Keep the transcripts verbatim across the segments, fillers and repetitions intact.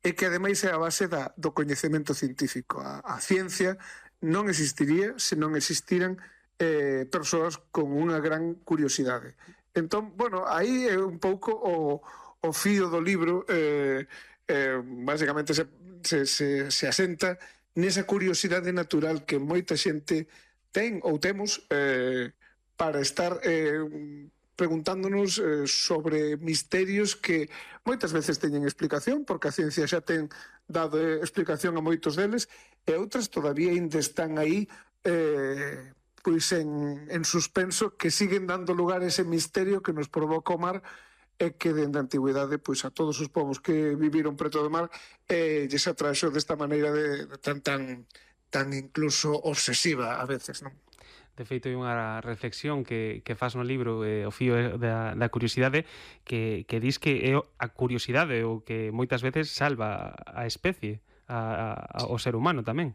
e que ademais é a base da, do coñecemento científico. A, a ciencia non existiría se non existiran eh, persoas con unha gran curiosidade. Entón, bueno, aí é un pouco o, o fío do libro, eh, eh, basicamente se, se, se, se asenta nesa curiosidade natural que moita xente ten ou temos eh, para estar eh, preguntándonos eh, sobre misterios que moitas veces teñen explicación, porque a ciencia xa ten dado eh, explicación a moitos deles, e outras todavía ainda están aí eh, pois en, en suspenso, que siguen dando lugar a ese misterio que nos provoca o mar, e que dende a antigüidade pois a todos os povos que viviron preto do mar eh, lles atraxo desta maneira de, de tan, tan, tan incluso obsesiva a veces, non? De feito, hai unha reflexión que, que faz no libro, eh, o fío da, da curiosidade, que, que dis que é a curiosidade o que moitas veces salva a especie, a, a, ao ser humano tamén.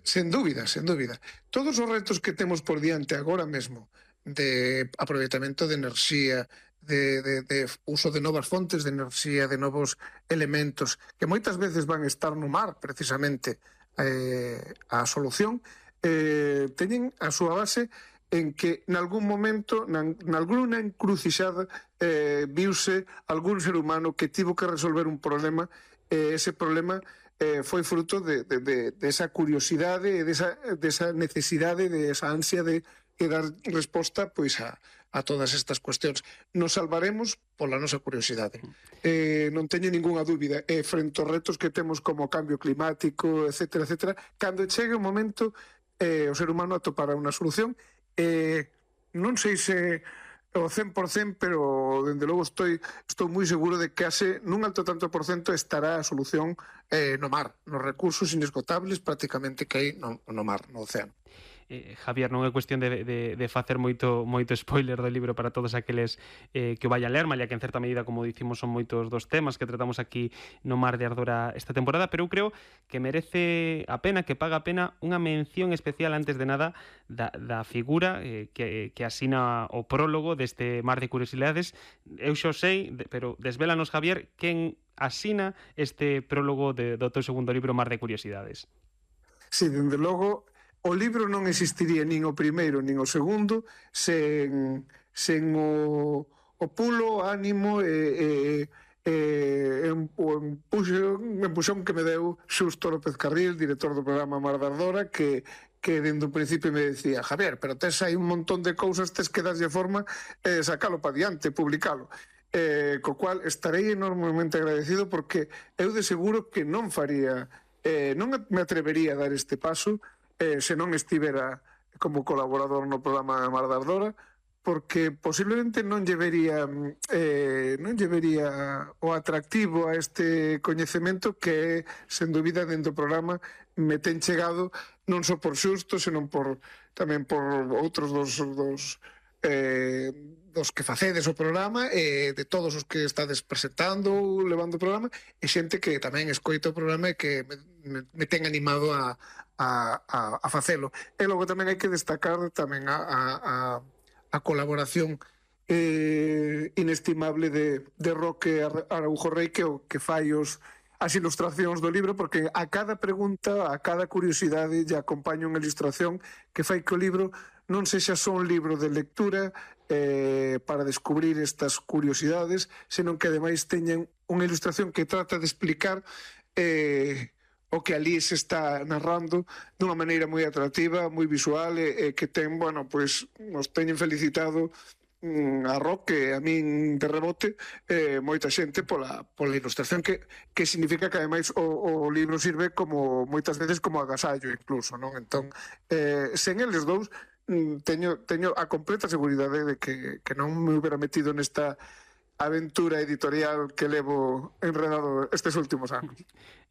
Sen dúbida, sen dúbida. Todos os retos que temos por diante agora mesmo, de aproveitamento de enerxía, de, de, de uso de novas fontes de enerxía, de novos elementos, que moitas veces van estar no mar, precisamente, eh, a solución, eh, teñen a súa base en que nalgún momento, nalgúna encrucixada, eh, viuse algún ser humano que tivo que resolver un problema, e eh, ese problema eh, foi fruto de, de, de, de esa curiosidade, de esa, de esa necesidade, de esa ansia de, de dar resposta pois a, a todas estas cuestións. Nos salvaremos pola nosa curiosidade. Eh, non teño ningunha dúbida. Eh, frente aos retos que temos como cambio climático, etcétera, etcétera, cando chegue o momento, eh, o ser humano atopará unha solución. Eh, non sei se o cen por cento, pero dende logo estou, estou moi seguro de que case nun alto tanto por cento estará a solución eh, no mar, nos recursos inesgotables prácticamente que hai no, no mar, no océano. Eh, Javier, non é cuestión de, de, de facer moito moito spoiler do libro para todos aqueles eh, que o vayan ler, malia que en certa medida, como dicimos, son moitos dos temas que tratamos aquí no Mar de Ardora esta temporada, pero eu creo que merece a pena, que paga a pena unha mención especial antes de nada da, da figura eh, que, que asina o prólogo deste Mar de Curiosidades. Eu xo sei, pero desvélanos, Javier, quen asina este prólogo de, do teu segundo libro, Mar de Curiosidades. Sí, dende logo, o libro non existiría nin o primeiro nin o segundo sen, sen o, o pulo, ánimo e, e, e o empuxón, empuxón que me deu Xusto López Carril, director do programa Mar de Ardora, que, que dende un principio me decía: Javier, pero tes aí un montón de cousas, tes que darlle forma e eh, sacalo para diante, publicalo. Eh, co cual estarei enormemente agradecido, porque eu de seguro que non faría, eh, non me atrevería a dar este paso Eh, se non estivera como colaborador no programa Mar de Ardora, porque posiblemente non lle vería, eh, non lle vería o atractivo a este coñecemento que, sen dúbida, dentro do programa me ten chegado non só por Xusto, senón por, tamén por outros dos, dos eh, dos que facedes o programa, e de todos os que estades presentando ou levando o programa, e xente que tamén escoita o programa e que me, me, me ten animado a A, a, a facelo. E logo tamén hai que destacar tamén a, a, a, a colaboración eh, inestimable de, de Roque Araujo Rei, que o que fai os, as ilustracións do libro, porque a cada pregunta, a cada curiosidade lle acompaña unha ilustración que fai que o libro non sexa só un libro de lectura eh, para descubrir estas curiosidades, senón que ademais teñen unha ilustración que trata de explicar eh, o que ali se está narrando dunha maneira moi atractiva, moi visual, e, e que ten, bueno, pois nos teñen felicitado mm, a Roque, a min de rebote, eh, moita xente pola, pola ilustración, que, que significa que ademais o, o libro sirve como moitas veces como agasallo incluso, non? Entón, eh, sen eles dous, mm, teño, teño a completa seguridade de que, que non me hubiera metido nesta aventura editorial que levo enredado estes últimos anos.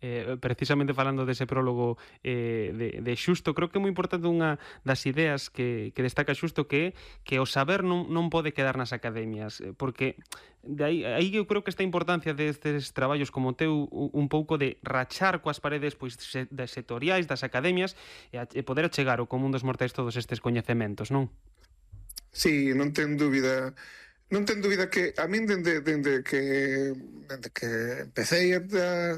Eh, precisamente falando dese prólogo eh, de, de Xusto, creo que é moi importante unha das ideas que, que destaca Xusto, que é que o saber non, non pode quedar nas academias, porque de aí, aí eu creo que esta importancia destes traballos como teu, un pouco de rachar coas paredes pois das sectoriais, das academias, e, a, e poder achegar ao común dos mortais todos estes coñecementos, non? Sí, non ten dúbida. Non ten dúbida que a min dende, dende que dende que empecé a